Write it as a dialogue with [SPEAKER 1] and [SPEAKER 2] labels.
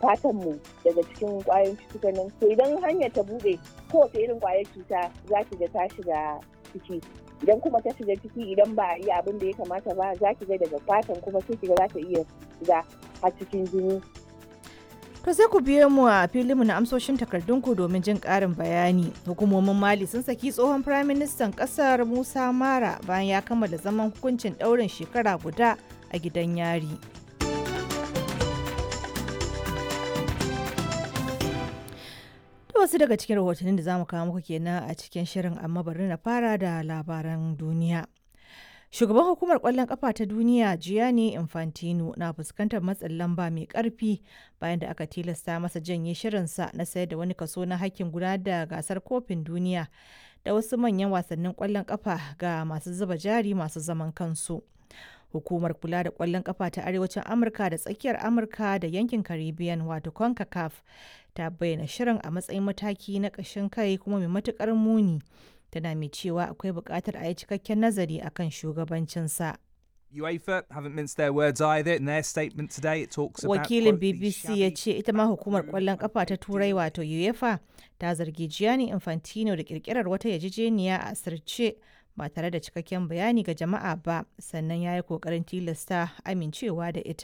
[SPEAKER 1] Fatan mu daga cikin kwayoyin cutukan nan. To idan hanyar ta bude, kowace irin kwayar cuta za ki ga ta shiga ciki. Idan kuma ta shiga ciki, idan ba a yi abin da ya kamata ba, za ki ga daga fatan kuma sai ki ga za ta iya shiga har cikin jini.
[SPEAKER 2] To sai ku biyo mu a filinmu na amsoshin takardunku domin jin ƙarin bayani. Hukumomin Mali sun saki tsohon firaministan ƙasar Musa Mara bayan ya kammala zaman hukuncin ɗaurin shekara guda a gidan yari. To wasu daga cikin rahotannin da zamu kawo muku kenan a cikin shirin, amma bari na fara da labaran duniya. Shugaban hukumar kwallon kafa ta duniya Gianni Infantino na fuskantar matsin lamba mai karfi bayan da aka tilasta masa janye shirinsa na sayar da wani kaso na hakkin gudanar da gasar kofin duniya da wasu manyan wasannin kwallon kafa ga masu zuba jari masu zaman kansu. Hukumar kula da kwallon kafa ta Arewacin Amurka da tsakiyar Amurka da yankin Caribbean, wato CONCACAF, ta bayyana shirin a matsayin mataki na ƙashin kai kuma mai matuƙar muni. Tana mai cewa akwai buƙatar a yi cikakken nazari akan shugabancinsa.
[SPEAKER 3] UEFA haven't minced their words either. In their statement today, it talks about
[SPEAKER 2] Wakilin
[SPEAKER 3] quote, the
[SPEAKER 2] BBC ya
[SPEAKER 3] shabby
[SPEAKER 2] ce ita ma hukumar kwallon kafa ta Turai, wato UEFA, ta zargi Gianni Infantino da kirkirar wata yarjejeniya a asirce ba tare da cikakken bayani ga jama'a ba, sannan ya yi kokarin tilasta amincewa da ita.